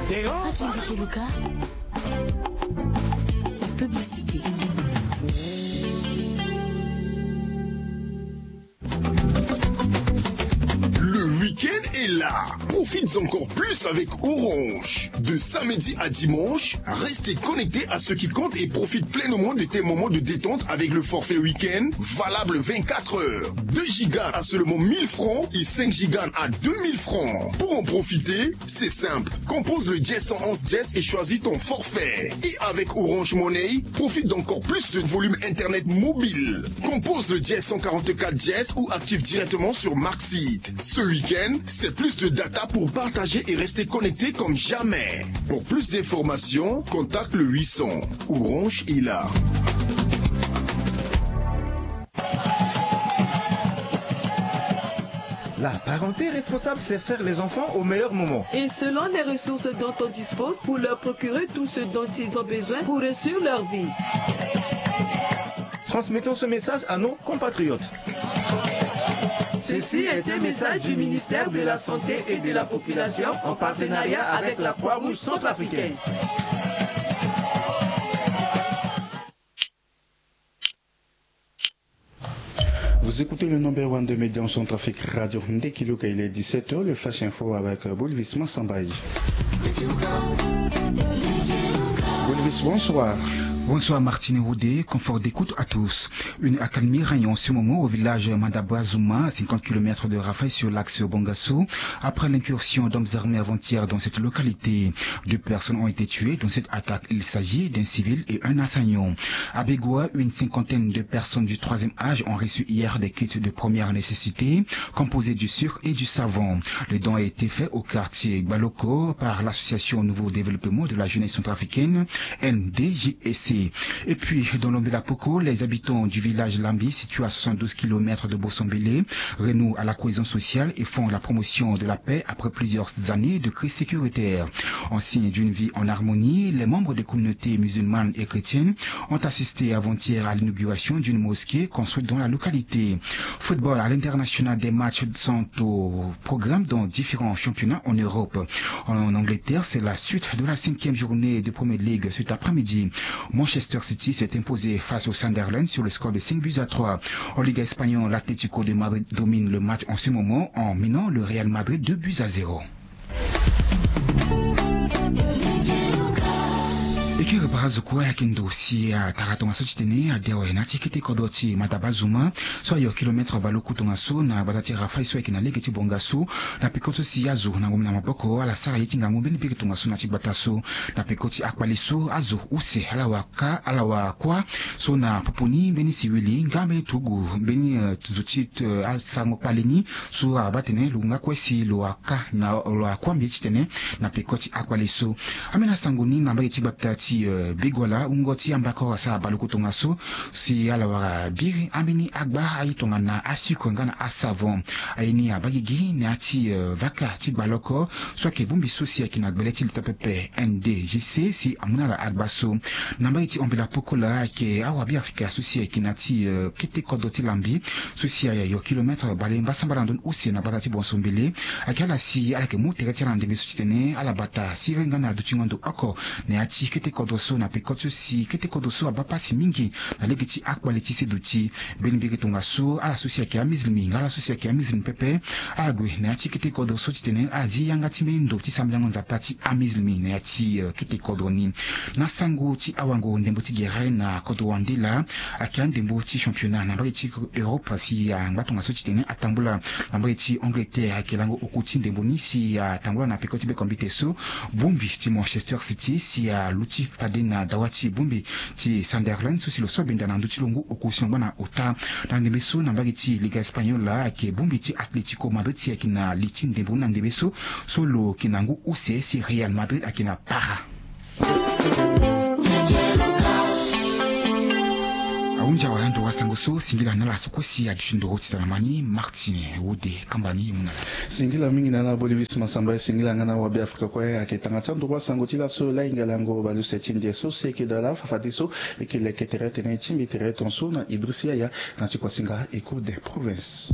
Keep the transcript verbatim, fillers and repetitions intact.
Théo. Patrick Keluka. La publicité. Le week-end est là. Profite encore plus avec Orange. De samedi à dimanche, restez connectés à ce qui compte et profite pleinement de tes moments de détente avec le forfait week-end valable vingt-quatre heures. Deux gigas à seulement mille francs et cinq gigas à deux mille francs. Pour en profiter, c'est simple. Compose le dièse cent onze dièse et choisis ton forfait. Et avec Orange Money, profite d'encore plus de volume internet mobile. Compose le dièse cent quarante-quatre dièse ou active directement sur Maxit. Ce week-end, c'est plus de data pour partager et rester connecté comme jamais. Pour plus d'informations, contacte le huit cents. Orange est là. La parenté responsable, c'est faire les enfants au meilleur moment. Et selon les ressources dont on dispose, pour leur procurer tout ce dont ils ont besoin pour réussir leur vie. Transmettons ce message à nos compatriotes. Ceci est un message du ministère de la Santé et de la Population en partenariat avec la Croix-Rouge centrafricaine. Vous écoutez le number one de médias en Centrafrique, Radio Ndekiluka. Il est dix-sept heures, le Flash Info avec Bolvis Mansamba. Bolvis, bonsoir. Bonsoir Martine Roudé, confort d'écoute à tous. Une accalmie règne en ce moment au village Madabazuma, à cinquante kilomètres de Rafai, sur l'axe Bongassou, après l'incursion d'hommes armés avant-hier dans cette localité. Deux personnes ont été tuées dans cette attaque. Il s'agit d'un civil et un assaillant. À Begoua, une cinquantaine de personnes du troisième âge ont reçu hier des kits de première nécessité composés du sucre et du savon. Le don a été fait au quartier Gbaloko par l'association Nouveau Développement de la Jeunesse Centrafricaine, N D J S C. Et puis, dans l'Ombela Poko, les habitants du village Lambi, situé à soixante-douze kilomètres de Bossombélé, renouent à la cohésion sociale et font la promotion de la paix après plusieurs années de crise sécuritaire. En signe d'une vie en harmonie, les membres des communautés musulmanes et chrétiennes ont assisté avant-hier à l'inauguration d'une mosquée construite dans la localité. Football à l'international, des matchs sont au programme dans différents championnats en Europe. En Angleterre, c'est la suite de la cinquième journée de Première Ligue cet après-midi. Manchester City s'est imposé face au Sunderland sur le score de cinq buts à trois. En Liga espagnole, l'Atlético de Madrid domine le match en ce moment en menant le Real Madrid deux buts à zéro. E kiri bara zo kue ayeke ndo si atara tongaso titene ade awe na ya ti kete kodro ti Madabazuma so ayo kilomètre baleoku tongaso na gbata ti Rafai so ayeke na lege ti Bongassou. Na peko so si azo na ngombe na maboko ala sara ye ti ngangu mbeni biri tongaso na ya ti gbata so. Na peko ti akpale so azo use ala wara ka ala wara kuâ so na popo ni mbeni siwili nga mbeni turugu mbeni zo ti asarango kpale ni so abaa tene lo nga kue si lo wara ka na lo wara kuâ mbi ye titene na peko ti akpale so. Ambeni asango ni na mbage ti gbata ti Begoua, wungo ti ambakoro asara baleoku tongaso si ala wara biri ambeni agba aye tongana asucre nga na asavon. Aye ni abaa gigi na ya ti vaka ti gbaloko so ayeke bongbi so si ayeke na gbele ti leta pepe N D J C si amu na ala agba so. Na mbage ti Ombela Poko laa ayeke awa Beafrika so si ayeke na ya ti kete kodro ti Lambi so si ayo kilomètre bale mbasambala na ndoni use na gbata ti Bonsombele. Ayeke ala si ala yeke mu tere ti ala na ndembe so titene ala bata siriri nga na dutingo ndo oko na ya ti kete kodro so na peko ti so si kete kodro so abaa pasi mingi na lege ti akpale ti seduti. Mbeni mbiri tongaso ala so si ayeke amizilimi nga ala so si ayeke amizilimi pepe ala gue na ya ti kete kodro so titene ala zi yanga ti mbeni ndo ti sambelango Nzapa ti amizilimi na ya ti kete kodro ni. Na sango ti awango, ndembo ti gere na kodro wande laa ayeke andembo ti championnat na mbage ti Europe si angba tongaso titene atambula na mbage ti Angleterre. Ayeke lango oku ti ndembo ni si atambula na peko ti bekombite so bongbi ti Manchester City si aluti fade na dawa ti bongbi ti Sunderland so si lo so abenda na ndö ti lo ngu oku si lo ngba na ota. Na ndembe so na mbage ti Liga Espagnol laa ayeke bongbi ti Atletico Madrid si ayeke na li ti ndembo ni na ndembe so so lo yeke na ngu use si Real Madrid ayeke na para. Ahunzi awe ando wasango so singila na ala so kue si aduti ndoro ti tana ma ni Martine Wode kamba ni e mu na ala. Singila mingi na ala Bolivis Masamba e singila nga na awabe Afrika kue ayeke tanga ti andoro wasango ti laso la hinga lango baleuse ti ndia so si ayeke daa laa fafadeso. E yeke leke tere tene ti mbi tere tongaso na Idriss Yaya na ti kuasinga Echo des Provinces.